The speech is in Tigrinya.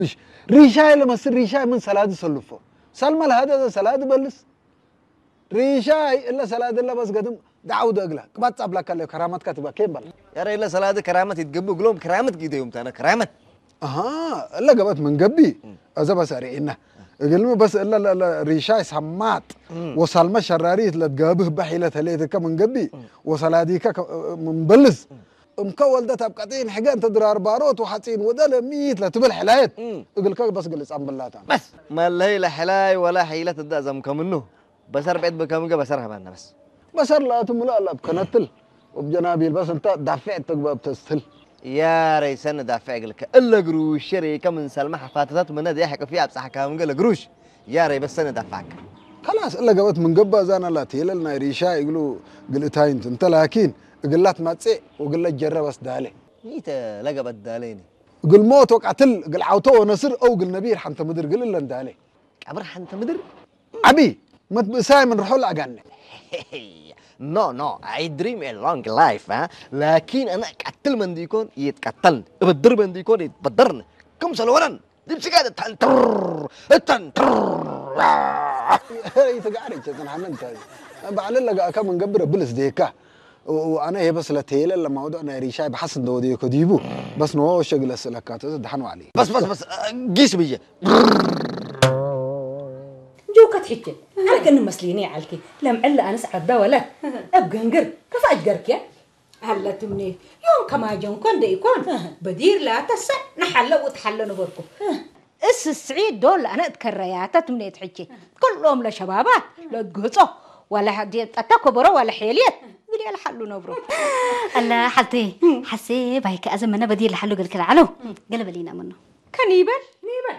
እሺ፣ ሪሻይ ለመስል ሪሻይ ምን ሰላዲ ሰልፎ። ሳልማ ለሃደ ሰላዲ በልስ። ሪሻይ እለ ሰላዲ እለ በስ ገድም ዳውደ እግላ። ቅባጽ አብላካ ለ ከራማትካ ትባ ኬም በላ። ያረ እለ ሰላዲ ከራመት ይትገቡ እግሎም ከራመት ጊደ ዮም ታነ ከራመት። አሃ፣ እለ ገበት ምን ገቢ። እዘ በስ አሪእና። እግልሚ በስ እለ ለ- ለ- ሪሻይ ሰማጥ ወሳልመ ሸራሪት ለትገብህ በሒለ ተሌትከ ምን ገቢ ወሰላዲከ ከ- ምን በልስ። እምከ ወልደት ኣብ ቀጢን ሕገ እንተ ድራር ባሮት ወሓጺን ወደ ለሚት ለትብል ሕላየት እግልከ በስ ግልጽ ኣንብላታ። በስ መለይ ለሕላይ ወላ ሒለት እዳ ዘምከምኑ በሰር ቤት ብከምገ በሰር ሀባና በስ በሰር ለኣቱ ምሉ ኣላ ኣብ ከነትል ወብ ጀናቢል በስ እንተ ዳፍዕ ተግባብ ተስትል። ያረይ ሰነ ዳፍዕ እግልከ እለ ግሩሽ ሸሬከ ምን ሰልመ ሓፋተታት ምነ ደያ ሕቅፊ ኣብ ጻሕካ ምገ ለግሩሽ ያረይ በስ ሰነ ዳፍዓከ። ከላስ እለ ገበት ምን ገባ ዛና ላት የለል ናይ ሪሻ እግሉ ግልእታይንት እንተ ላኪን እግላት ማጼ ወግለ ጀረ በስ ዳለ። ይተ ለገበት ዳለይኒ። እግል ሞት ወቃትል እግል ዓውቶ ወነስር ኦ እግል ነቢር ሓንተ ምድር ግል እለን ዳለ። ቀብር ሓንተ ምድር ዓቢ መትብእሳይ ምን ርሖ ለኣጋነ። No, no, I dream a long life, huh? لكن أنا قتل من ديكون يتقتلن، بدر من ديكون يتبدرن. كم سلوانن؟ دبسي قاعدة تنتر تنتر. ይትጋዕር ይቸትን ሓመን እንታይ ባዕለ ለጋእካ መንገብረ ብልስ ዴካ ኣነ ይሄ በስ ለተየለ ለማውዶ ናይ ሪሻይ ብሓስ እንደወደየ ከዲቡ በስ ንወ ሸግለ ስለካ ተዘ ድሓን ዋዕሊ بس بس بس قيس بيا. ጆከት ሕጂ ኣነ ከን መስሊኒ ዓልኪ ለምዕሊ ኣነስ ዓዳ ወለ ኣብ ገንግር ከፋ ኣጅገርክያ ኣለትምኒ ዮም ከማጀን ኮን ደይኮን በዲር ላተሰ ንሓለ ውትሓለ ነበርኩ እስስዒ ዶል ኣነ እትከረያታ ትምኔት ሕጂ ኩሎም ለሸባባት ለግህጾ ዋላ ጠታ ኮበሮ ዋላ ሔልየት ግልየ ለሓሉ ነብሮ ኣላ ሓልቲ ሓሴ ባይከ ኣዘመነ በዲር ለሓሉ ገልክል ዓለው ገለ በሊና ምኖ ከኒበል ኒበል